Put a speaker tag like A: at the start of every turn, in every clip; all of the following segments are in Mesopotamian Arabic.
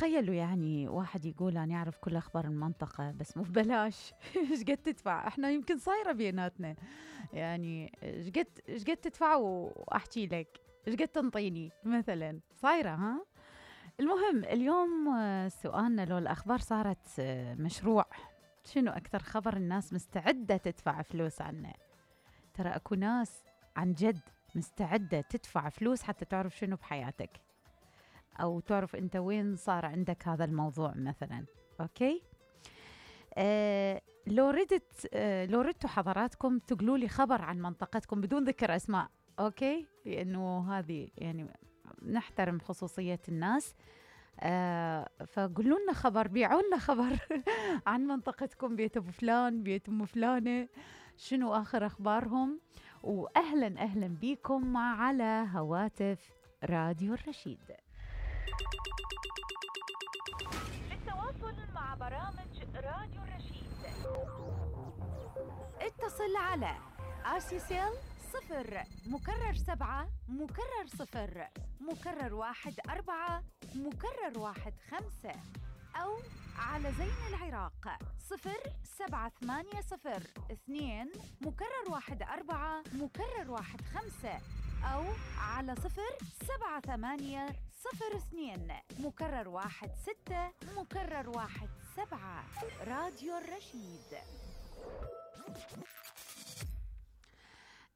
A: تخيلوا يعني واحد يقول أنا أعرف كل أخبار المنطقة بس مو ببلاش. إيش قد تدفع؟ إحنا يمكن صايرة بيناتنا يعني إيش قد تدفع وأحكي لك إيش قد تنطيني مثلا صايرة ها. المهم اليوم سؤالنا لو الأخبار صارت مشروع، شنو أكثر خبر الناس مستعدة تدفع فلوس عنه؟ ترى أكو ناس عن جد مستعدة تدفع فلوس حتى تعرف شنو بحياتك، أو تعرف أنت وين صار عندك هذا الموضوع مثلا. أوكي لو ردتوا حضراتكم تقولوا لي خبر عن منطقتكم بدون ذكر أسماء، أوكي، لأنه هذه يعني نحترم خصوصية الناس. فقولوا لنا خبر، بيعوا لنا خبر عن منطقتكم، بيت أبو فلان، بيت أم فلانة، شنو آخر أخبارهم. وأهلا أهلا بيكم على هواتف راديو الرشيد. للتواصل مع برامج راديو الرشيد اتصل على آسيسيل 0 مكرر 7 مكرر 0 مكرر 1 4 مكرر 1 5، أو على زين العراق 0780 2 مكرر 1 4 مكرر 1 5، أو على 078 02 مكرر 1 6 مكرر 1 7. راديو الرشيد.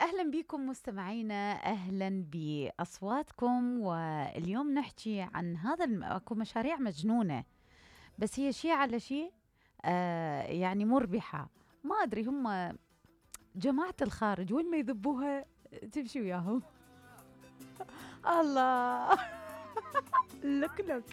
A: أهلا بكم مستمعينا، أهلا بأصواتكم. واليوم نحكي عن هذا أكو مشاريع مجنونة بس هي شيء على شيء يعني مربحة. ما أدري هم جماعة الخارج وين ما يذبوها تمشي وياهم. الله لك